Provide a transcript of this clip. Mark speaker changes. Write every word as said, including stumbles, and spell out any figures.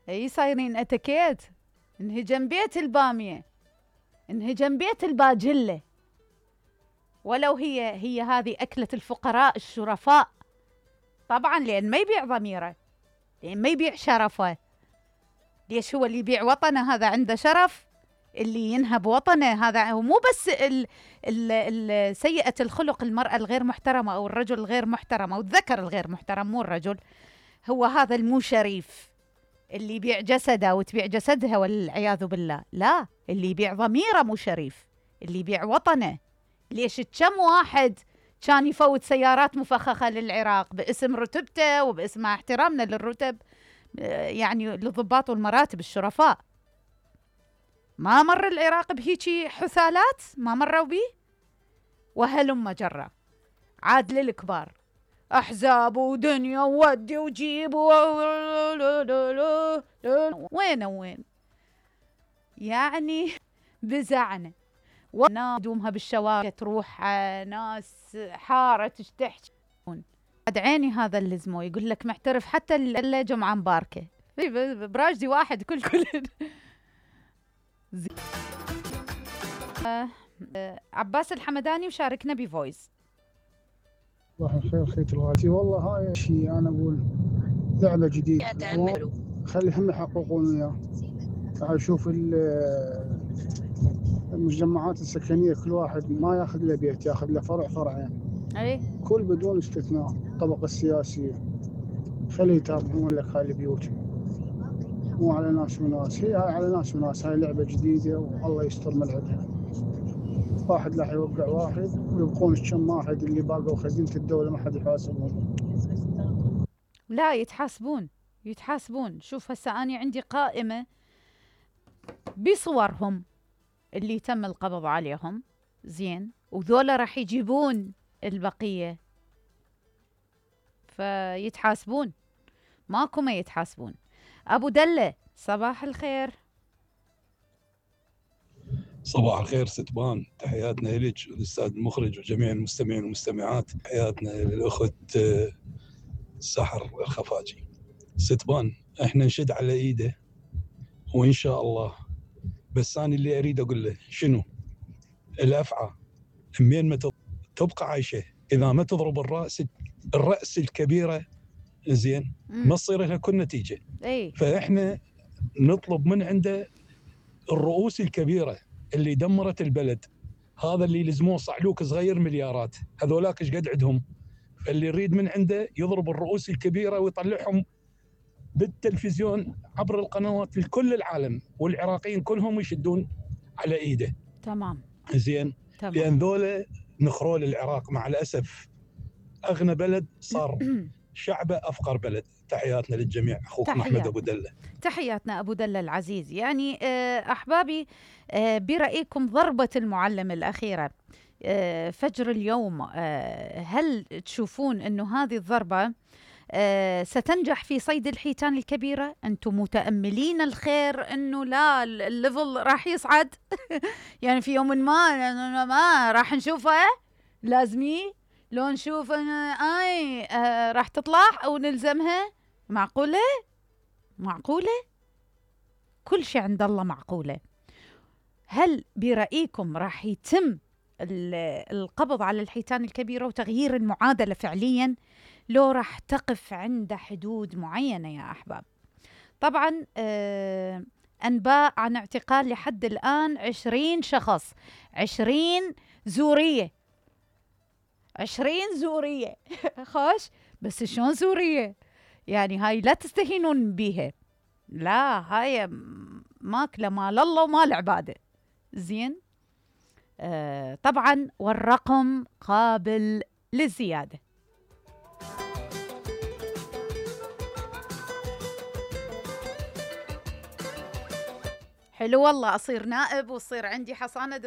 Speaker 1: اي صايرين اتكيت. انهجم بيت البامية، انهجم بيت الباجلة، ولو هي هي هذه أكلة الفقراء الشرفاء. طبعا لأن ما يبيع ضميره، لأن ما يبيع شرفه. ليش؟ هو اللي يبيع وطنه هذا عنده شرف، اللي ينهب وطنه هذا هو. مو بس ال ال ال سيئة الخلق المرأة الغير محترمة أو الرجل الغير محترم أو الذكر الغير محترم، مو الرجل، هو هذا المو شريف اللي يبيع جسده وتبيع جسدها والعياذ بالله. لا، اللي يبيع ضميره مو شريف، اللي يبيع وطنه. ليش؟ كم واحد كان يفوت سيارات مفخخة للعراق باسم رتبته وباسم احترامنا للرتب، يعني للضباط والمراتب الشرفاء. ما مر العراق بهيجي حثالات؟ ما مروا بيه؟ وهلم جرة عاد للكبار، احزاب ودنيا وودي وجيب و... وين وين يعني بزعنا ونادومها بالشوارع، تروح ناس حارة تشتحش. عاد عيني هذا اللي زمو يقول لك محترف حتى اللي جمعة مباركة براجدي واحد كل كل آه آه عباس الحمداني مشاركنا بفويس.
Speaker 2: صباح الخير خيت الغالي. والله هاي شيء انا اقول لعبه جديده، خلي هم يحققون وياه. اشوف المجمعات السكنيه كل واحد ما ياخذ له بيت، ياخذ له فرع فرعين،
Speaker 1: اي
Speaker 2: كل بدون استثناء. الطبقه السياسيه خلي يتابعون لك هاي البيوت، مو على ناس وناس. هي هاي على ناس وناس. هاي لعبه جديده والله يستر من عندها. واحد راح يوقع واحد ويبقون كم واحد اللي باقوا خزينة الدولة ما حد يحاسبهم.
Speaker 1: لا يتحاسبون يتحاسبون. شوف هسه أنا عندي قائمة بصورهم اللي تم القبض عليهم، زين، وذولا راح يجيبون البقية فيتحاسبون، ماكو ما يتحاسبون. أبو دلة صباح الخير.
Speaker 3: صباح الخير ستبان، تحياتنا لك والأستاذ المخرج وجميع المستمعين والمستمعات. تحياتنا للأخت سحر الخفاجي. ستبان احنا نشد على ايده وإن شاء الله، بس أنا اللي أريد أقول له شنو الأفعى منين ما تبقى عايشة إذا ما تضرب الرأس الرأس الكبيرة، زين، ما تصير لها كل نتيجة.
Speaker 1: أي.
Speaker 3: فإحنا نطلب من عنده الرؤوس الكبيرة اللي دمرت البلد، هذا اللي لزموه صعلوك صغير مليارات، هذولاك ايش قد عندهم؟ فاللي يريد من عنده يضرب الرؤوس الكبيرة ويطلعهم بالتلفزيون عبر القنوات لكل العالم، والعراقيين كلهم يشدون على ايده.
Speaker 1: تمام
Speaker 3: زين.
Speaker 1: تمام.
Speaker 3: لأن ذولا نخروا للعراق مع الأسف أغنى بلد صار شعبه أفقر بلد. تحياتنا للجميع. أخوكم أحمد أبو دلة.
Speaker 1: تحياتنا أبو دلة العزيز. يعني أحبابي، برأيكم ضربة المعلم الأخيرة فجر اليوم، هل تشوفون أنه هذه الضربة ستنجح في صيد الحيتان الكبيرة؟ أنتم متأملين الخير أنه لا الليفل راح يصعد يعني في يوم ما ما راح نشوفه لازمي لو نشوف اي آه راح تطلع او نلزمها؟ معقولة؟ معقولة؟ كل شيء عند الله معقولة. هل برأيكم راح يتم القبض على الحيتان الكبيرة وتغيير المعادلة فعليا، لو راح تقف عند حدود معينة يا أحباب؟ طبعا آه أنباء عن اعتقال لحد الآن عشرين شخص، عشرين زورية، عشرين زورية خوش، بس شلون زورية؟ يعني هاي لا تستهينون بيها، لا هاي ماكلة مال الله ومال عباده. زين. آه طبعا والرقم قابل للزيادة. حلو والله أصير نائب وصير عندي حصانة